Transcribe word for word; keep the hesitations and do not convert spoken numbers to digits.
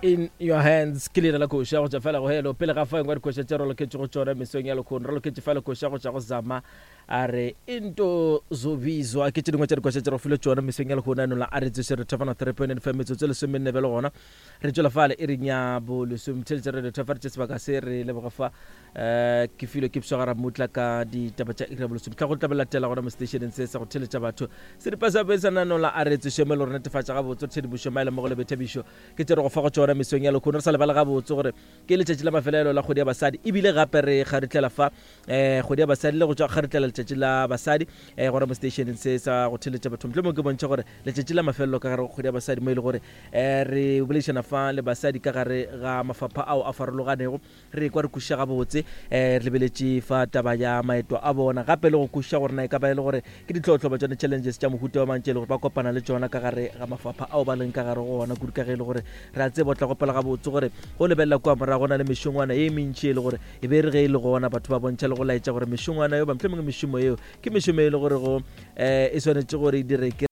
In your hands ke leina la koša go tšwa fela go helo. Pele ga fa engwe dikoša tše re loketše go tšona mesong ya lekgono, re loketše fela koša go tšwa go Zama a re into zobizwa. Ke tše dingwe tša dikoša tše re go file tšona mesong ya lekgono ano la a re tsoše re thofana three point nine five metsotso e lesomenne bjale gona re tšwela fale e reng ya bolesome theletše re re tše sebaka se re leboga fa um ke filwe ke pswagara mutla ka ditaba tša iri ya bolesome tla go tla latela gona mo stationeng se sa go theletša batho seripa sa besa nano la a re tsoše mo le gore netefatša gabotse tshedimošo maele mo go le boithabišo ke tše re go fa go tšona mesong ya lekgono. Re sa lebale gabotse gore ke letšatši la mafelelo la kgwedi ya basadi, ebile gape re kgaritlela fa um kgwedi ya basadi le go tšwa kgaritlela letšatši la basadi um gona mo stationeng se sa go theletša batho. Mohlomong ke bontšha gore letšatši la mafelelo ka gare go kgwedi ya basadi mo e le gore um re boledišana fa le basadi ka gare ga mafapha ao a farologanego, re kwa re kwešiša gabotse um re lebeletše fa taba ya maeto a bona, gape le go kwešiša gore na e ka ba e le gore ke ditlhohlo ba tšone challenges tša mohuta wa mantši e le gore ba kopana le tšona ka gare ga mafapha ao ba leng ka gare go ona, kudu ka ge e le gore re a tseba o tla gopela gabotse gore go lebelela kua morago go na le mešongwana ye mentši e le gore e be re ge e le gona batho ba bontšha le go laetša gore mešongwana eo ba mohlomongwe mešomo eo ke mešomo e le gore go um e swanetše gore e dire ke